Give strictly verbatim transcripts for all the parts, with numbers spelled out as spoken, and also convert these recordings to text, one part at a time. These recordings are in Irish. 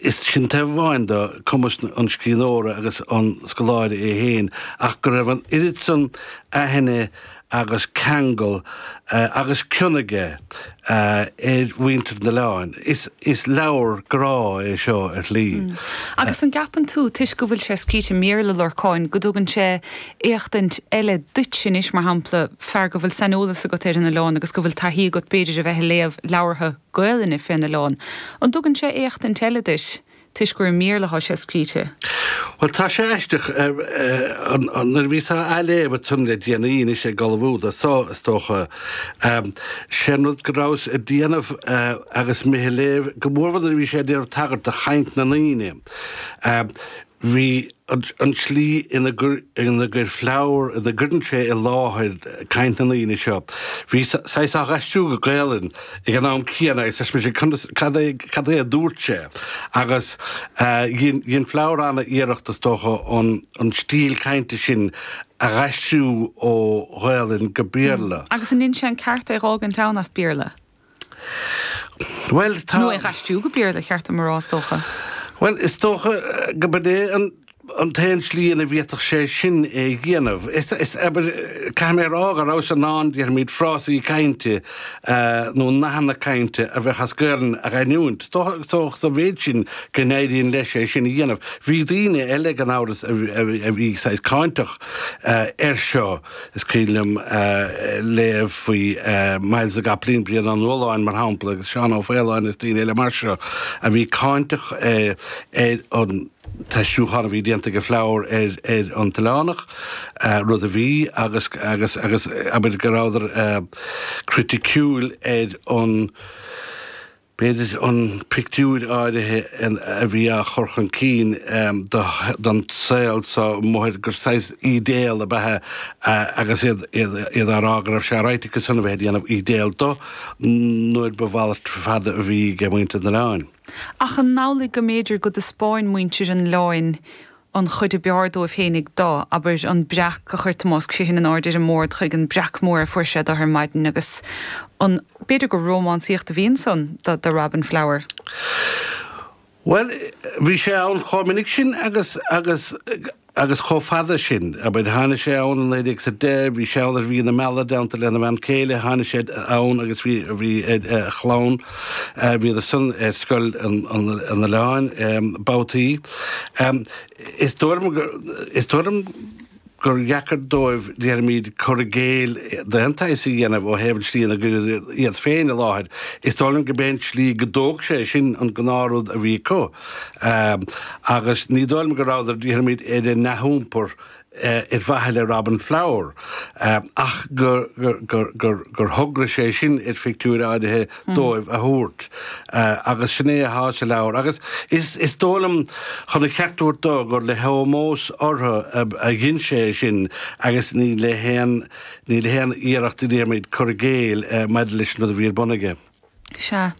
Is sin taobh amháin de cumas an scríbhneora agus an scoláire é féin, ach go raibh an oiread san aithne agus ceangal agus cion aige ar mhuintir an oileáin. Is is leabhar grá é seo ar shlí. Agus an gceapann tú, toisc go bhfuil sé scríte i mBéarla, Lorcáin, go dtugann sé éachtaint eile duit anois, mar shampla, fear go bhfuil saineolas agat ar an oileán agus go bhfuil taithí agat b'fhéidir a bheith ag léamh leabhartha Gaelainne fén oileán, an dtugann sé éachtaint eile duit toisc gur i mBéarla atá sé scríte? Bhuel, tá sé aisteach, nuair a bhíos á léamh ansan le déanaí anois ag ullmhú do so, is dócha, sé an rud go rabhas ag déanamh agus mé ag léamh, go mórmhór nuair a bhí sé ag déanamh tagairt do chaint na ndaoine, bhí an tslí ina gcuir Flower, ina gcuireann sé i láthair caint na ndaoine seo, bhí saghas á aistriú go Gaelainn ag an am céanna agus deir mise conas, cad é, cad é a dúirt sé? Agus dhein Flower an-iarracht is dócha an, an stíl cainte sin a aistriú ó Ghaelainn go Béarla. Agus an ndein sé an ceart é dh'fhágaint ann as Béarla? Bhuel, tá. Nó é dh'aistriú go Béarla, cheart dom a rá, is dócha. Bhuel, is dócha go b'in é an an t-aon slí ina bhféadfadh sé sin é a dhéanamh. Is, is, abair, caithfidh mé a rá go rabhas in ann, déarfaimid, frásaí cainte nó nathanna cainte a bheadh as Gaelainn a aithniúint. So, so, sa mhéid sin go n-éiríonn leis é sin a dhéanamh. Bhí daoine eile, gan amhras, a bhí saghas cáinteach air seo. Is cuimhin liom léamh faoi Myles na gCopaleen, Brian Ó Nualláin, mar shampla, agus Seán Ó Faoláin is daoine eile mar seo a bhí cáinteach ar an t-aistriúchán a bhí déanta ag Flower ar ar an tOileánach, rud a bhí, agus agus agus abair go rabhadar criticiúil ar an b'fhéidir an pictiúr áirithe a bhí á chur chun cinn don saol so amuigh gur saghas ídéal ab ea é agus iad iad á rá go raibh sé right acu san a bheith ag déanamh ídéal do nuair ba mhalairt fada a bhí ag muintir an oileáin. Ach an amhlaidh go mb'fhéidir go dtaispeáin muintir an oileáin an chuid ab fhearr dóibh féinig do, abair, an breac a chuir Tomás Criomhthain in airde ar an mbord chuig an breac mór a fuair sé do ar maidin agus an, b'fhéidir gur rómánsaíocht a bhí ansan do, do Robin Flower? Bhuel, bhí sé ann chomh minic sin agus, agus, agus chomh fada sin. Abair, tháinig sé ann i naoi déag is a deich, bhí sé ann ar mhí na meala i dteannta lena bhean chéile, tháinig sé ann agus bhí, bhí a chlann, bhíodar san ar scoil an, an, an oileáin, babhtaí. Is dóigh liom gur, is dóigh liom gur dheacair dóibh, déarfaimid, cur i gcéill d'aon tsaghas a dhéanamh ó thaobh an tslí ina gcuireadar iad féin i láthair. Is dóigh liom go b'é an tslí go dtóg sé sin an gnáthrud a bhí acu. Agus ní dóigh liom go rabhadar, déarfaimid, ar a ndea-iompar ar mhaithe le Robin Flower, ach gur, gur, gur, gur thograigh sé sin ar phictiúir áirithe dóibh a thabhairt. Agus sin é atá sa leabhar. Agus is, is dóigh liom, chun a cheart a thabhairt dó, gur le hómós orthu a dhein sé é sin agus ní le haon, ní le haon iarracht, déarfaimid, cur i gcéill maidir leis an rud a bhí ar bun aige. Sea.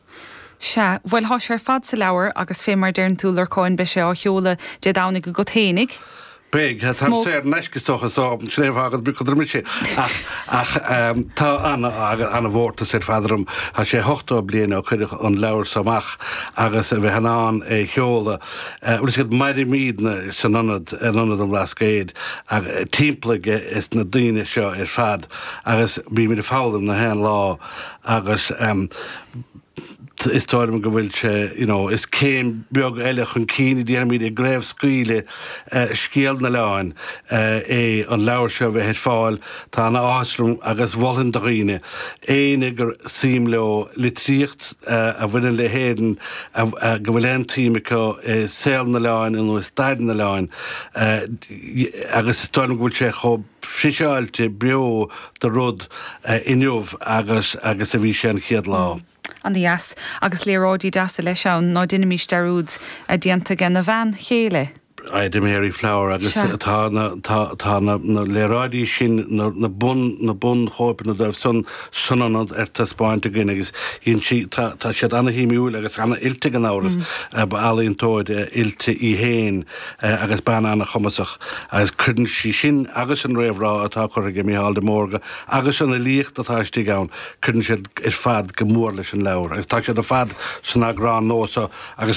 Sea. Bhuel, thá sé ar fad sa leabhar agus fé mar deireann tú, Lorcáin, beidh sé á sheoladh Dé Domhnaigh agat fhéinig. Beidh. Táim saor in aisce is dócha so sin é an fáth go bhfuil mise ach ach tá ana-mhórtas ar fad orm. Tá sé ochtó bliain ó cuireadh an leabhar so amach agus a bheith in ann é a sheoladh. Bhfuil fhios agat, mairimidne san ionad, in Ionad an Bhlascaoid, timpeall aige is na daoine seo ar fad agus bímid ag foghlaim na haon lá agus is dóigh liom go bhfuil sé, you know, is céim beag eile chun cinn, déarfaimid, i gcraobhscaoileadh scéal an oileáin é an leabhar seo a bheith ar fáil. Tá ana-áthas orm agus mholfainn do dhaoine, éinne gur suim leo litríocht a bhaineann le hÉirinn, go bhfuil aon tsuim acu i saol an oileáin nó i stair an oileáin, agus is dóigh liom go bhfuil sé chomh friseáilte beo de rud inniu agus agus a bhí sé an chéad lá. Ana-dheas. Agus léaráidí deasa leis ann, ná deinimís dearúd, déanta ag a bhean chéile. Ida Mary Flower agus tá na tá tá na na léaráidí sin na na bun na bunchóipeanna dóibh san san ionad ar taispeáint againn agus dhein sí tá tá siad ana-shuimiúil agus ana-oilte gan amhras. Ba ealaíontóir oilte í féin agus bean ana-chumasach agus cuireann sí sin agus an réamhrá atá curtha ag Mícheál de Mórdha agus an fhilíocht atá istigh ann, cuireann siad ar fad go mór leis an leabhar agus tá siad ar fad san eagrán nua seo agus